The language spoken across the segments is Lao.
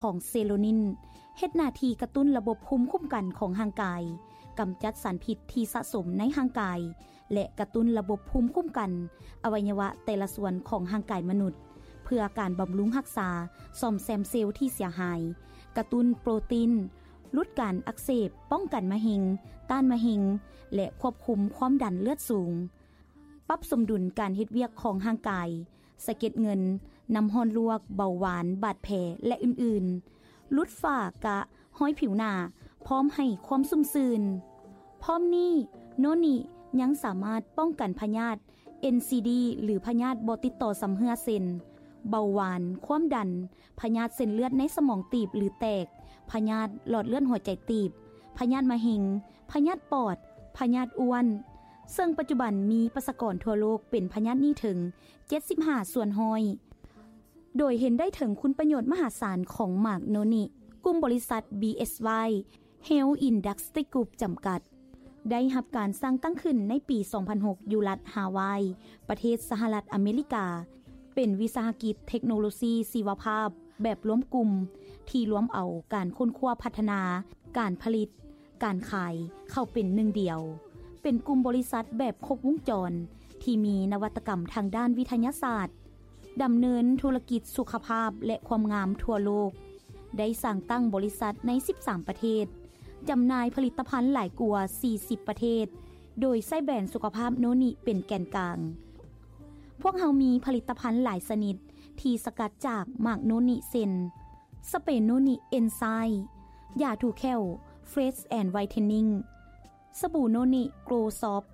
ຂອງເຊໂຣນິນ ເຮັດໜ້າທີ່ກະຕຸ້ນລະບົບພູມຄຸ້ມກັນຂອງຮ່າງກາຍ, ກຳຈັດສານພິດທີ່ສະສົມໃນຮ່າງກາຍ ແລະ ກະຕຸ້ນລະບົບພູມຄຸ້ມກັນອະໄວຍະວະແຕ່ລະສ່ວນຂອງຮ່າງກາຍມະນຸດ ເພື່ອການບຳລຸງຮັກສາ, ສ້ອມແຊມເຊວທີ່ເສຍຫາຍ, ກະຕຸ້ນໂປຣຕີນ, ຫຼຸດການອັກເສບ, ປ້ອງກັນມະເຮັງ, ຕ້ານມະເຮັງ ແລະ ຄວບຄຸມຄວາມດັນເລືອດສູງ. ປັບສົມດຸນການເຮັດວຽກຂອງຮ່າງກາຍ, ສະເກັດເງິນ, ນ້ຳຮ້ອນລວກ, ເບົາຫວານ, ບາດແຜ ແລະ ອື່ນໆ. ຫຼຸດຝ້າກະຮອຍຜິວໜ້າ, ພ້ອມໃຫ້ຄວາມຊຸ່ມຊື່ນ. ພ້ອມນີ້, ໂນນິຍັງສາມາດປ້ອງກັນພະຍາດ ເອັນຊີດີ ຫຼື ພະຍາດບໍ່ຕິດຕໍ່ຊຳເຮື້ອ ເຊັ່ນ ເບົາຫວານ, ຄວາມດັນ, ພະຍາດເສັ້ນເລືອດໃນສະໝອງຕີບ ຫຼື ແຕກ, ພະຍາດຫຼອດເລືອດຫົວໃຈຕີບ, ພະຍາດມະເຮັງ, ພະຍາດປອດ, ພະຍາດອ້ວນ, ເຊິ່ງປັດຈຸບັນມີປະຊາກອນທົ່ວໂລກເປັນພະຍາດນີ້ເຖິງ ເຈັດສິບຫ້າສ່ວນຮ້ອຍ ໂດຍເຫັນໄດ້ເຖິງຄຸນປະໂຫຍດມະຫາສານຂອງໝາກໂນນິ. ກຸ່ມບໍລິສັດ ບີເອສວາຍ Health Industry Group ຈຳກັດ ໄດ້ຮັບການສ້າງຕັ້ງຂຶ້ນໃນປີສອງພັນຫົກ ຢູ່ລັດຮາວາຍ ປະເທດສະຫະລັດອາເມລິກາ, ເປັນວິສາຫະກິດເທັກໂນໂລຊີຊີວະພາບແບບລວມກຸ່ມ ທີ່ລວມເອົາການຄົ້ນຄວ້າພັດທະນາ, ການຜະລິດ, ການຂາຍເຂົ້າເປັນໜຶ່ງດຽວ, ເປັນກຸ່ມບໍລິສັດແບບຄົບວົງຈອນ ທີ່ມີນະວັດຕະກຳທາງດ້ານວິທະຍາສາດ, ດຳເນີນທຸລະກິດສຸຂະພາບ ແລະ ຄວາມງາມທົ່ວໂລກ, ໄດ້ສ້າງຕັ້ງບໍລິສັດໃນສິບສາມປະເທດ, ຈຳໜ່າຍຜະລິດຕະພັນຫຼາຍກວ່າສີ່ສິບປະເທດ, ໂດຍໃຊ້ແບຣນສຸຂະພາບໂນນິເປັນແກນກາງ. ພວກເຮົາມີຜະລິດຕະພັນຫຼາຍຊະນິດທີ່ສະກັດຈາກໝາກໂນນິ ເຊັ່ນ ສະເປໂນນິເອັນໄຊ, ຢາຖູແຂ້ວ Fresh and Whitening, ສະບູໂນນິ Grow Soft,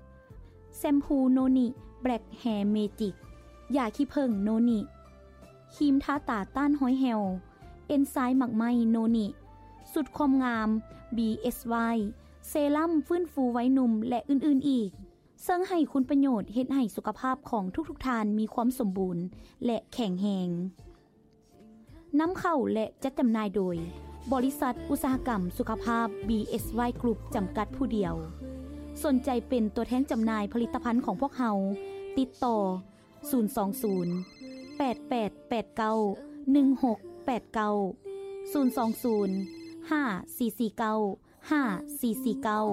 ແຊມພູໂນນິ Black Hair Magic, ຢາຂີ້ເຜິ້ງໂນນິ, ຄຣີມທາຕາຕ້ານຮອຍແຫ່ວ, ເອັນໄຊໝາກໄມ້ໂນນິ, ສູດຄວາມງາມ ບີເອສວາຍ, ເຊຣຳຟື້ນຟູໄວໜຸ່ມ ແລະ ອື່ນໆອີກ, ເຊິ່ງໃຫ້ຄຸນປະໂຫຍດເຮັດໃຫ້ສຸຂະພາບຂອງທຸກໆທ່ານມີຄວາມສົມບູນ ແລະ ແຂງແຮງ. ນຳເຂົ້າ ແລະ ຈັດຈຳໜ່າຍໂດຍ ບໍລິສັດອຸດສາຫະກຳສຸຂະພາບ ບີເອສວາຍ Group ຈຳກັດຜູ້ດຽວ. ສົນໃຈເປັນຕົວແທນຈຳໜ່າຍຜະລິດຕະພັນຂອງພວກເຮົາ, ຕິດຕໍ່ ສູນສອງສູນ ແປດແປດແປດເກົ້າ ໜຶ່ງຫົກແປດເກົ້າ, ສູນສອງສູນ ຫ້າສີ່ສີ່ເກົ້າ ຫ້າສີ່ສີ່ເກົ້າ.